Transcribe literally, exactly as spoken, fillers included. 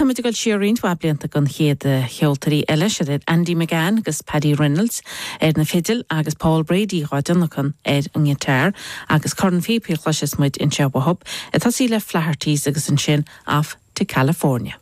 Tá ag dul siar roinnt mhaith blianta don chéad cheoltóirí eile siad iad Andy McGann agus Paddy Reynolds ar na fidil agus Paul Brady dhá dtionlacan ar an ngiotár agus corn phíopaí a chloisfeas muid anseo uathu ag tosaí le Flaherty's agus ansin off to California.